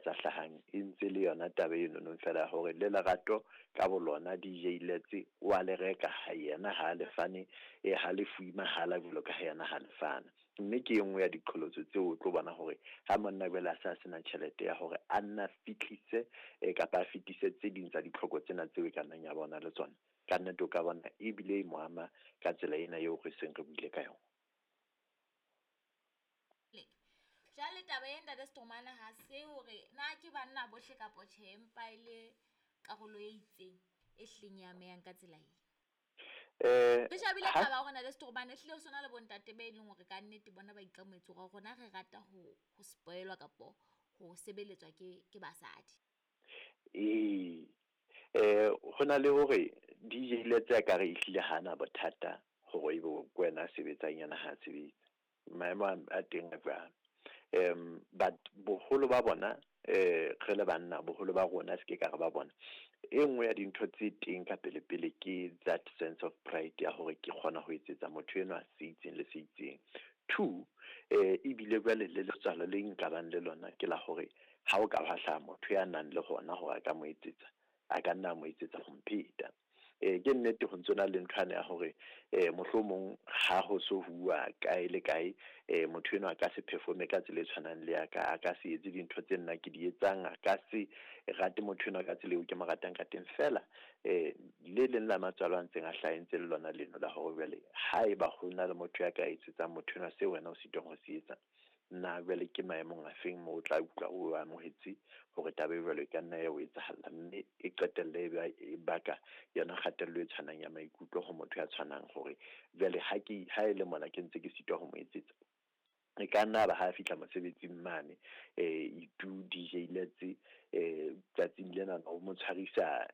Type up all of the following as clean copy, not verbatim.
tsa hlahang e ntse le yona taba eno fela ya hore le lerato ka bolona DJ Letse wa le reka ha yena ha le fane, ha le fuwe mahala jwalo ka ha yena ha le fana. Mme ke e nngwe ya diqholotso tseo o tlo bona hore ha monna jwale a se a sena tjhelete ya hore a nna fihlise kapa a fetise tse ding tsa ditlhoko tsena tseo e ka nnang ya bona le tsona, ka nnete o ka bona ebile e mo ama ka tsela ena eo re seng re buile ka yona. Jwale taba e ntate Stromane ha se hore na ke banna bohle kapa tjhe, empa e le karolo e itseng e hlileng e amehang ka tsela e. Re shebile taba ya hore ntate Stromane ehlile ho sona le bontate be leng hore ka nnete bona ba ikamohetse hore rona re rata ho spoilwa kapo ho sebeletswa ke basadi. Ee, ho na le hore DJ Letse a ka re ehlile hana bothata hore ebe ke wena a sebetsang, yena ha sebetse, maemo a teng a jwalo. But boholo ba bona, re le banna, boholo ba rona, se ke ka re ba bona, e nngwe ya dintho tse teng ka pele pele ke that sense of pride ya hore ke kgona ho etsetsa motho enwa se itseng le se itseng. Two, ebile jwale le letswalo le nkabang le lona ke la hore ha o ka hwa hlaha motho ya nang le hona hore a ka mo etsetsa, a ka nna a mo etsetsa ho mpheta. Ke nnete ho ntsona le nthwane ya hore mohlomong ha ho so huwa kae le kae, motho enwa a ka se performe ka tsela e tshwanang le ya ka, a ka se etse dintho tse nna ke di etsang, a ka se rate motho enwa ka tsela eo ke mo ratang ka teng. Fela le leng la matswalo a ntseng a hlahentse le lona leno la hore jwale haeba ho na le motho ya ka etsetsang motho enwa seo wena o sitwang ho se etsa, nna jwale ke maemong a feng moo o tla utlwa o amohetse hore taba e jwalo e ka nna ya o etsahalla, mme e qetelle e baka yona kgatello e tshwanang ya maikutlo ho motho ya tshwanang hore jwale ha ke ha e le mona ke ntse ke sitwa ho mo etsetsa. E ka nna ba ha fihla mosebetsing mane, itu DJ Letse, tsatsing lena o mo tshwarisa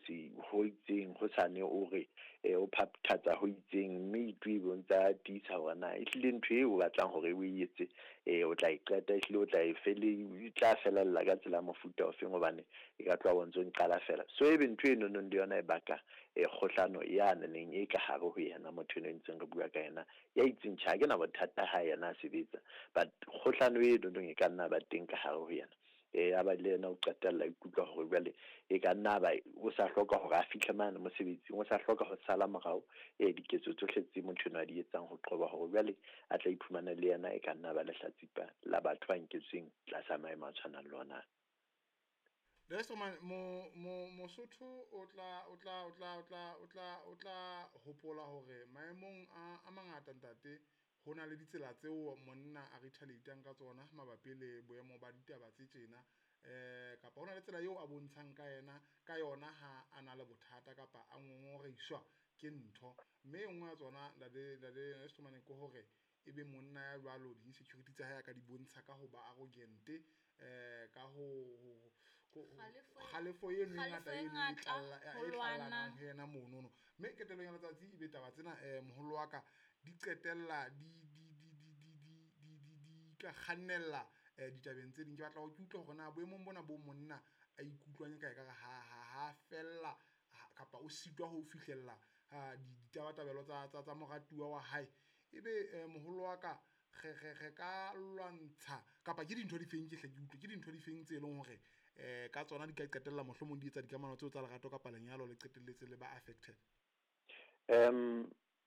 se ho itseng, hosane o re o phaphatsa ho itseng, mme itu e bontsa tiisa hore na ehlile ntho eo o batlang hore o e etse, o tla e qeta, ehlile o tla e fele, e tla felella ka tsela ya mofuta ofeng, hobane e ka tloha o ntso nqala fela. So ebe ntho e nonong le yona e baka kgohlano ya neneng e ka hare ho yena motho eno e ntseng re bua ka yena, ya itseng tjhe ha ke na bothata ha yena a sebetsa, but kgohlano e nonong e ka nna ba teng ka hare ho yena. Ya ba le yena o qetella ikutlwa hore jwale e ka nna ba o sa hloka hore a fihle mane mosebetsing, o sa hloka ho sala morao diketso tsohle tse motho enwa a di etsang, ho qoba hore jwale a tla iphumana le yena e ka nna ba lehlatsipa la batho ba nketsweng tlasa maemo a tshwanang le ona. Lesoman mo mo Mosotho o tla hopola hore maemong a mangata, ntate, ho na le ditsela tseo monna a retaliate-ang ka tsona mabapi le boemo ba ditaba tse tjena, kapa hona le tsela eo a bontshang ka yena ka yona ha a na le bothata kapa a ngongoreiswa ke ntho. Mme e nngwe ya tsona, ntate Lesoman, ke hore ebe monna ya jwalo di-insecurity tsa hae a ka di bontsha ka ho ba arrogant, ka ho kgalefo eno e ngata eno e tlallanang ho yena monono. Mme qetellong ya letsatsi ebe taba tsena, moholo wa ka, di qetella di ka kgannella ditabeng tse ding. Ke batla hore ke utlwe hore na boemong bona bo monna a ikutlwang ka ekare ha fella kapa o sitwa ho fihlella ditabatabelo tsa moratuwa wa hae, ebe moholo wa ka re ka lwantsha kapa ke dintho di feng? Ke hle ke utlwe ke dintho di feng tse leng hore ka tsona di ka qetella mohlomong di etsa dikamano tseo tsa lerato kapa lenyalo le qetelletse le ba affected?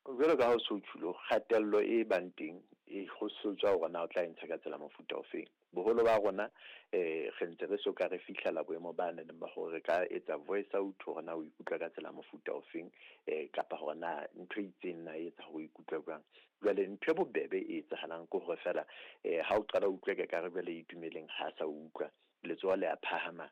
Jwalo ka ha o so tjhulo, kgatello e bang teng e ho so tswa hore na o tla e ntsha ka tsela mofuta ofeng. Boholo ba rona re ntse re soka re fihlela boemo ba neng ba hore re ka etsa voice out hore na o ikutlwa ka tsela mofuta ofeng, kapa hore na ntho e itseng na e etsa hore o ikutlwe jwang. Jwale ntho e bobebe e etsahalang ke hore fela ha o qala o utlwa ke kare jwale Itumeleng ha sa utlwa, letsoho le a phahama,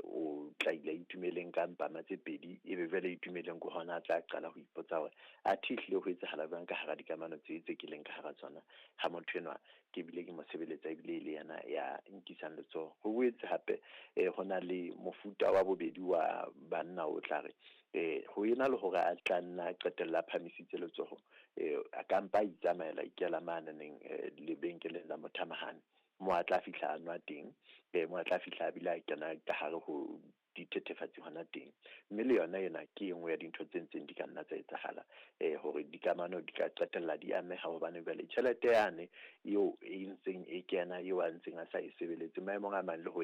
o tla ile Itumeleng ka mpama tse pedi, ebe jwale Itumeleng ke hona a tla qala ho ipotsa hore athe ehlile ho etsahala jwang ka hara dikamano tse ke leng ka hara tsona, ha motho enwa ke bile ke mo sebeletsa ebile e le yena ya nkisang letsoho. Ho boetse hape ho na le mofuta wa bobedi wa banna o tla re ho ena le hore a tla nna qetella a phamisitse letsoho, a ka mpa a itsamaela ikela maneneng lebenkeleng la mothamahane, mo a tla fihla a nwa teng, mo a tla fihla a bile a kena ka hare ho dithethefatsi hona teng. Mme le yona ena ke e nngwe ya dintho tse ntseng di ka nna tsa etsahala, hore dikamano di ka qetella di ameha, hobane jwale tjhelete yane eo e ntseng e kena eo a ntseng a sa e sebeletse maemong a mang le ho e